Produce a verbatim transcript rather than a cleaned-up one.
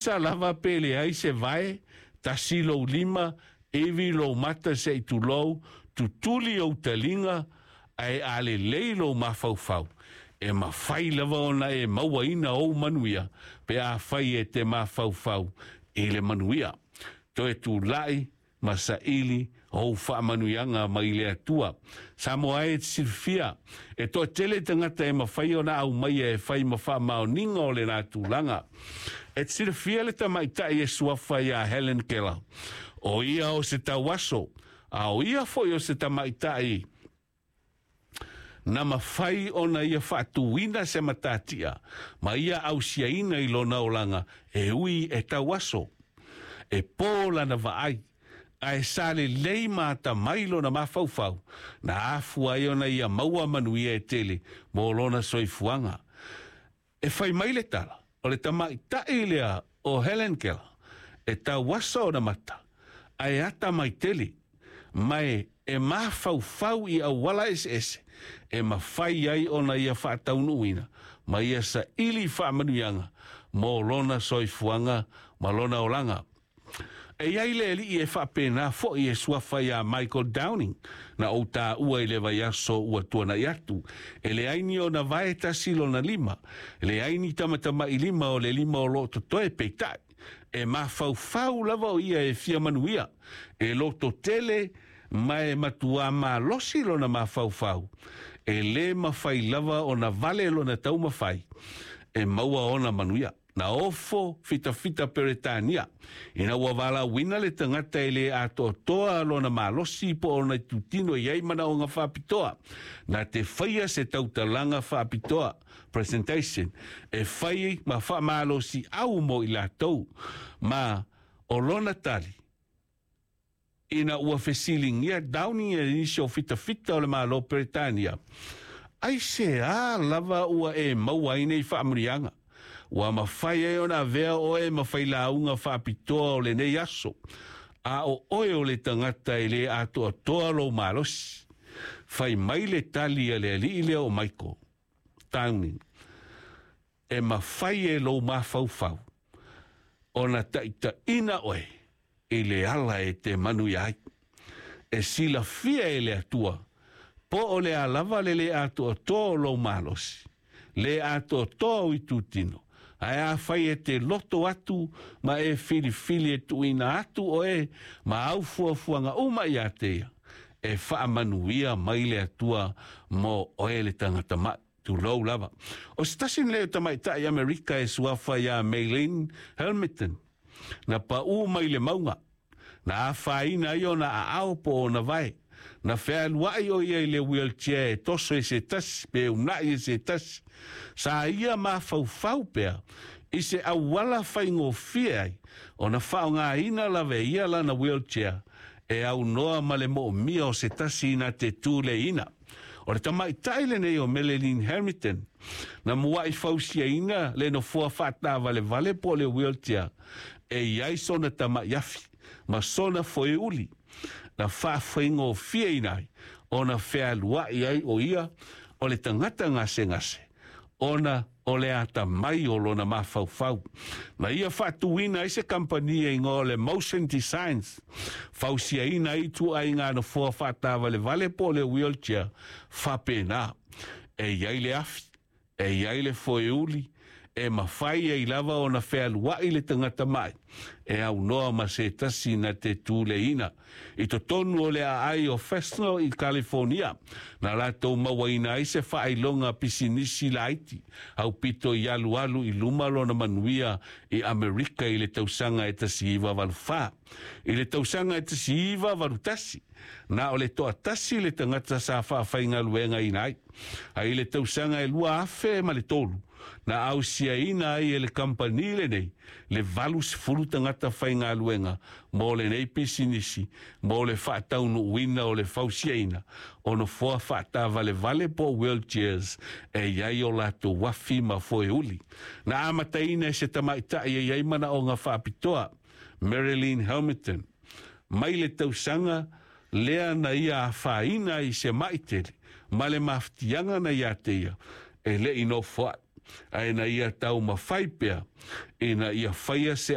Sa lava pe leai se vae, tasi lou lima, ivi lou mata se i tulou, tutuli ou taliga, ae a lelei lou mafaufau, e mafai lava ona e mauaina ou manuia, pe afai e te mafaufau i le manuia. Toe tulai ma saili ou faamanuiaga mai le Atua. Samoa e, e te silafia, e toatele tagata e mafai ona aumaia e fai ma faamaoniga o lena tulaga. E te silafia le tamaitai e suafa ia Helen Keller? O ia o se tauaso, a o ia foi o se tamaitai na mafai ona ia faatuina se matatia ma ia ausiaina i lona olaga e ui e tauaso. E po lana vaai, ae sa lelei ma atamai lona mafaufau, na afua ai ona ia maua manuia e tele mo lona soifuaga. E fai mai le tala, o le tamaitai lea o Helen Keller, e tauaso ona mata, ae atamai tele, ma e e mafaufau i auala eseese e mafai ai ona ia faataunuuina ma ia saili faamanuiaga mo lona soifuaga ma lona olaga. E i ai le alii e faapena foi e suafa ia Michael Downing, na ou taua i le vaiaso ua tuanai atu. E leai ni ona vae tasi lona lima, e leai ni tamatamailima o le lima o lo o totoe, peitai e mafaufau lava o ia e fia manuia, e lototele ma e matuā malosi lona mafaufau. E lē mafai lava ona vale lona taumafai e maua ona manuia. Na ofo fitafita Peretania ina ua valaauina le tagata e lē atoatoa lona malosi po o ona itutino e i ai manaoga faapitoa, na te faia se tautalaga faapitoa, presentation, e fai ma faamalosiau mo i latou. Ma o lona tali ina ua fesiligia Downing e nisi o fitafita o le Malo Peretania, aisea lava ua e maua ai nei faamanuiaga ua mafai ai ona avea oe ma failauga faapitoa o lenei aso, a o oe o le tagata e lē atoatoa lou malosi? Fai mai le tali a le alii lea o Michael Downing, e mafai e lou mafaufau ona taitaina oe i le ala e te manuia ai. E silafia e le Atua po o le a lava le lē atoatoa o lou malosi, lē atoatoa o itutino, ae afai e te loto atu ma e filifili e tuuina atu oe ma au fuafuaga uma ia te ia, e faamanuia mai le Atua mo oe le tagata ma'i, tulou lava. O se tasi lenei o tamaitai Amerika e suafa ia Maylene Hamilton, na paʻū mai le mauga, na afaina ai ona aao po o ona vae. Na fealuai o ia i le wheelchair e toso e se tasi pe unaʻi e se tasi. Sa ia mafaufau pea i se auala faigofie ai ona faaaogaina lava e ia lana wheelchair e aunoa ma le moomia o se tasi na te tuleiina. O le tamaitai lenei o Marilyn Hamilton na muaʻi fausiaina le nofoa faatavalevale po o le wheelchair e i ai sona tamaʻi afi ma sona foeuli, na faafaigofieina ai ona fealuaʻi ai o ia o le tagata gasegase ona o le atamai o lona mafaufau. Na ia faatuina ai se kampani e igoa o le Motion Designs, fausiaina ai ituaiga nofoa faatavalevale po o le wheelchair faapena. E i ai le afi, e i ai le foeuli, e mafai ai lava ona fealuaʻi le tagata maʻi e aunoa ma se tasi na te tuleina. I totonu o le aai o Fresno i California, na latou mauaina ai se faailoga pisinisi laiti, aupito i alualu i luma lona manuia i Amerika i le tausaga e tasi iva valu fa. I le tausaga e tasi iva valu tasi, na o le toatasi le tagata sa faafaigaluegaina ai. Ae i le tausaga e lua afe ma le tolu, na ausiaina ai e le kampani lenei le valu sefulu tagata faigaluega mo lenei pisinisi mo le faataunuuina o le fausiaina o nofoa faatavalevale po o wheelchairs e i ai o latou afi ma foeuli. Na amataina e se tamaitai e i ai manaoga faapitoa, Marilyn Hamilton, mai le tausaga lea na ia afaina i se maʻi tele ma le mafatiaga na ia te ia e leʻi nofoaʻi, ae na ia taumafai pea ina ia faia se